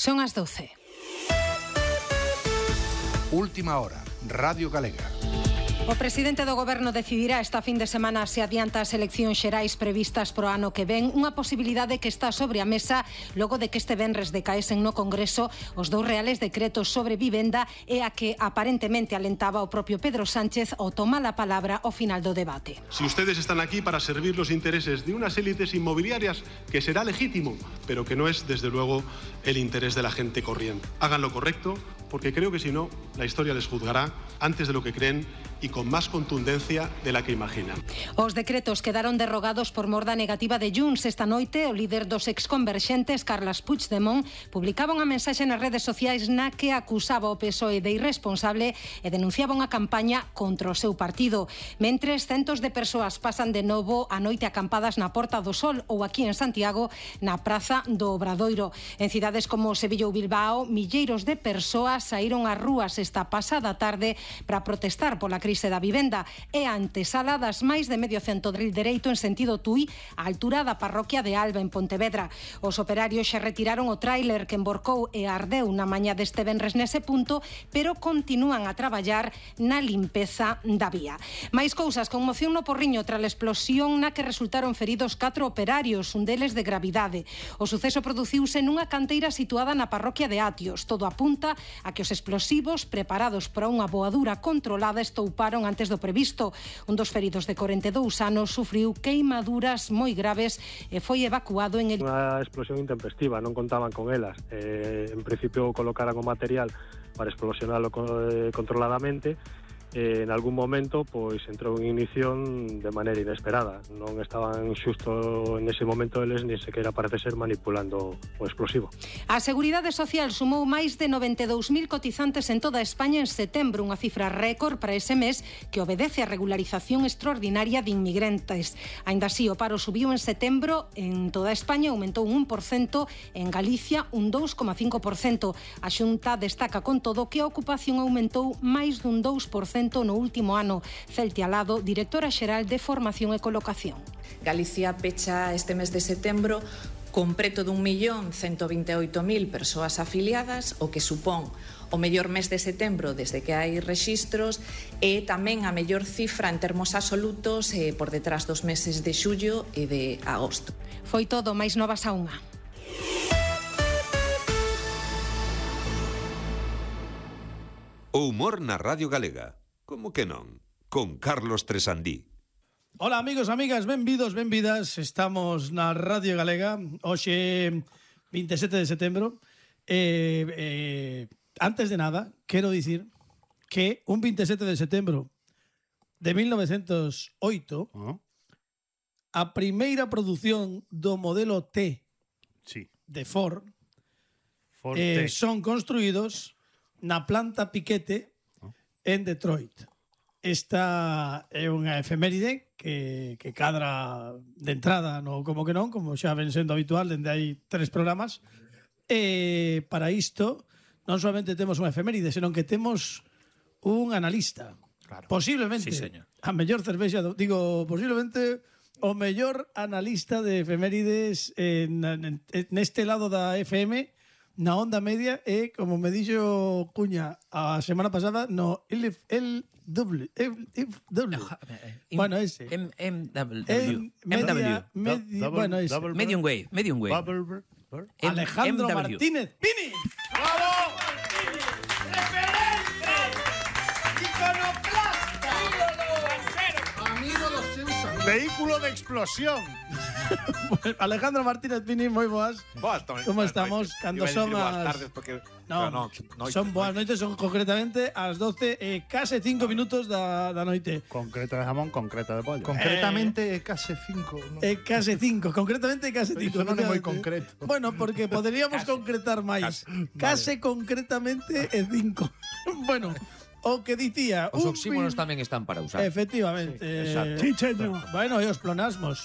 Son as 12. Última hora, Radio Galega. O presidente do Goberno decidirá esta fin de semana se adianta as eleccións xerais previstas pro ano que ven, unha posibilidade que está sobre a mesa logo de que este venres decaesen no Congreso os 2 reales decretos sobre vivenda e a que aparentemente alentaba o propio Pedro Sánchez ao tomar a palabra ao final do debate. Si ustedes están aquí para servir los intereses de unas élites inmobiliarias, que será legítimo, pero que no es desde luego el interés de la gente corriente. Hagan lo correcto, porque creo que si no, la historia les juzgará antes de lo que creen y con más contundencia de la que imaginan. Os decretos quedaron derrogados por mor da negativa de Junts. Esta noite, o líder dos exconverxentes, Carles Puigdemont, publicaba unha mensaxe nas redes sociais na que acusaba o PSOE de irresponsable e denunciaba unha campaña contra o seu partido. Mentres, centos de persoas pasan de novo a noite acampadas na Porta do Sol ou aquí en Santiago, na Praza do Obradoiro. En cidades como Sevilla ou Bilbao, milleiros de persoas saíron ás rúas esta pasada tarde para protestar pola crise da vivenda e a antesala das máis de medio cento de dereito en sentido Tui á altura da parroquia de Alba en Pontevedra. Os operarios xa retiraron o tráiler que emborcou e ardeu na mañá deste venres nese punto, pero continúan a traballar na limpeza da vía. Máis cousas, conmoción no Porriño tras a explosión na que resultaron feridos 4 operarios, un deles de gravidade. O suceso produciuse nunha canteira situada na parroquia de Atios. Todo apunta a que os explosivos preparados para unha voadura controlada estouparon antes do previsto. Un dos feridos de 42 anos sufriu queimaduras moi graves e foi evacuado en el... Unha explosión intempestiva, non contaban con elas. En principio colocaran o material para explosionalo controladamente. En algún momento pois entrou en ignición de maneira inesperada. Non estaban xusto nese momento eles ni sequera parece ser manipulando o explosivo. A Seguridade Social sumou máis de 92.000 cotizantes en toda España en setembro, unha cifra récord para ese mes que obedece a regularización extraordinaria de inmigrantes. Aínda así, o paro subiu en setembro en toda España, aumentou un 1%, en Galicia un 2,5%. A Xunta destaca con todo que a ocupación aumentou máis dun 2% no último ano. Celtia Alado, directora xeral de Formación e Colocación. Galicia pecha este mes de setembro con preto dun 1.128.000 persoas afiliadas, o que supón o mellor mes de setembro desde que hai rexistros e tamén a mellor cifra en termos absolutos por detrás dos meses de xullo e de agosto. Foi todo, máis novas a unha. O humor na Radio Galega. Como que non? Con Carlos Tresandí. Hola amigos, amigas, benvidos, benvidas. Estamos na Radio Galega. Hoxe 27 de setembro. Antes de nada, quero dicir que un 27 de setembro de 1908 a primeira produción do modelo T de Ford son construídos na planta Piquete en Detroit. Esta é unha efeméride que cadra de entrada no como que non, como xa ven sendo habitual dende hai 3 programas. E para isto non solamente temos unha efeméride, senón que temos un analista. Claro. Posiblemente a mellor cervexa, posiblemente o mellor analista de efemérides neste lado da FM, na onda media, e como me dixo Cuña a semana pasada no LW. Bueno, ese bueno, ese Medium Wave Alejandro Martínez Pini. ¡Bravo! ¡Referente! ¡Iconoclasta! ¡Amigo dos seus amigos! Vehículo de explosión. Alejandro Martínez Pini, moi boas. Como estamos? Cando son boas tardes porque son boas noites, son concretamente ás 12 e case 5 minutos da noite. Concreta de jamón, concreta de pollo. Concretamente case 5, ¿no? Case 5, concretamente case 5. Non é moi concreto. Bueno, porque poderíamos concretar máis. Case concretamente é 5. Bueno, o que dicía... Os oxímonos tamén están para usar. Efectivamente. Chicheño. Bueno, e os plonasmos.